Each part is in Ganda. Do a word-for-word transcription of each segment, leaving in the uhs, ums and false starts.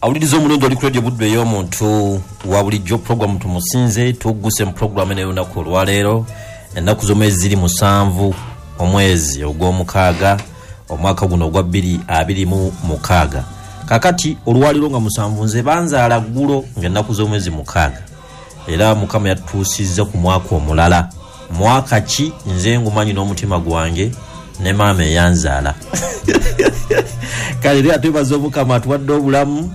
Awuliriza omulungi oli ku Radio Buddu ey'omuntu wa bulijjo, puroguramu Tumusinze. Tugguse mu puroguramu eno ey'olunaku olwaleero. Ennaku z'omwezi ziri musanvu, omwezi ogw'omukaaga, omwaka guno ogwa bbiri abiri mu mukaaga. Kakati olwaleero nga musanvu, nze banzaala ggulo ng'ennaku z'omwezi mukaaga, era Mukama yatutuusizza ku mwaka omulala. Mwaka ki? Nze ngumanyi n'omutima gwange ne maama eyanzaala. Kale era twebaza Omukama atuwadde obulamu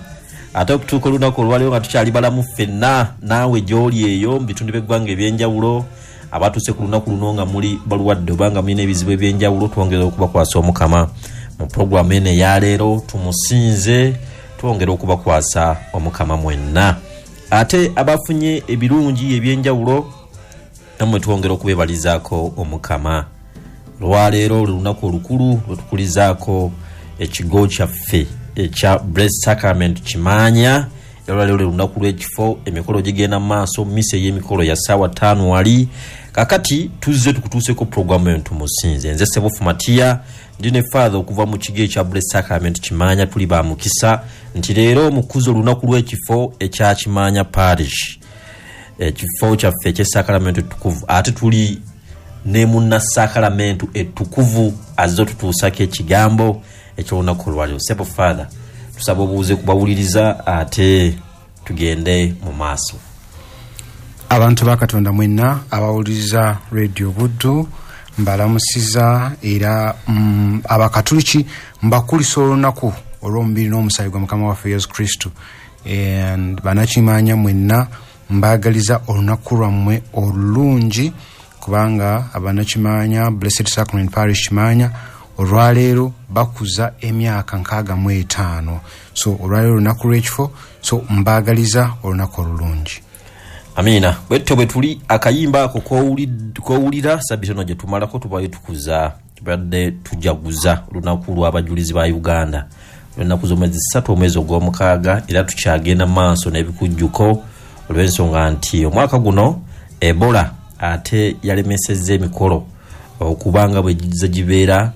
ate okutuuka olunaku olwaleero nga tukyali balamu ffenna. Naawe gy'oli eyo mu bitundu by'eggwanga ebyenjawulo, abatuuse ku lunaku luno nga muli balwadde oba nga mulina ebizibu ebyenjawulo, twongera okubakwasa Omukama mu puroguramu eno eyaleero Tumusinze. Twongera okubakwasa Omukama mwenna. Ate abafunye ebirungi ebyenjawulo, nammwe twongera okubebalizaako Omukama. Lwaleero olunaku olukulu lwetukulizaako ekigo kyaffe ekya Blessed Sacrament Kimaanya. Olwaleero lwe lunaku lw'ekifo, emikolo gigenda mu maaso, misa ey'emikolo ya ssaawa ttaano wali. Kakati tuzze tukutuuseko puroguramu eno Tumusinze. Nze Sebufu Matiya, ndi ne Father okuva mu kigo ekya Blessed Sacrament Kimaanya. Tuli ba mukisa nti leero mukuza olunaku lw'ekifo ekya Kimaanya Parish, ekifo kyaffe eky'esakalamento ettukuvu, ate tuli ne munnasakalamento ettukuvu azze otutuusako ekigambo eky'olunaku olwaleero. Sebo Father, tusaba obuuze kubawuliriza ate tugende mu maaso. Abantu ba Katonda mwenna abawuliriza Radio Buddu, mbalamusiza. Era mm, abakatuliki mbakulisa olunaku olw'omubiri n'omusaayi gwa Mukama waffe Yesu Kristo. And banakimanya mwenna, mbaagaliza olunaku lwammwe olulungi, kubanga abanakimanya Blessed Sacrament Parish Kimanya olwaleero bakuza emyaka nkaaga mu etaano. So olwaleero olunaku lw'ekifo, so mbaagaliza olunaku olulungi. Amiina. Bwetyo bwe tuli. Akayimba ako kowulira, sabiti eno gye tumalako tubayo tukuza, tubadde tujaguza olunaku lw'abajulizi ba Uganda, olwenaku z'omwezi ssatu, omwezi ogw'omukaaga. Era tukyagenda mu maaso n'ebikujjuko olw'ensonga nti omwaka guno Ebola ate yalemesezza emikolo okubanga bwe gizze gibeera.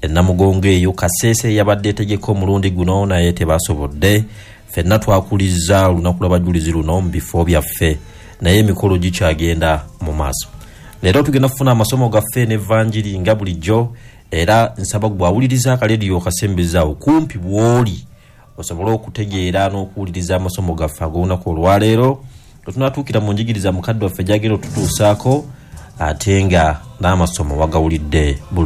Enamugongo eyo Kaseese yabadde etegeka omulundi guno, naye tebasobodde. Ffenna twakulizza olunaku lw'abajulizi luno mu bifo byaffe, naye emikolo gikyagenda mu maaso. Leero tugenda kufuna amasomo gaffe n'evanjiri nga bulijjo. Era nsaba gwawuliriza akalediyo okasembezaawo kumpi bw'oli, osobole okutegeera n'okuwuliriza amasomo gaffe ag'olunaku olwaleero. Lwe tunatuukira mu njigiriza mukadde waffe gyagenda otutuusaako, ate nga n'amasomo wagawulidde bulungi.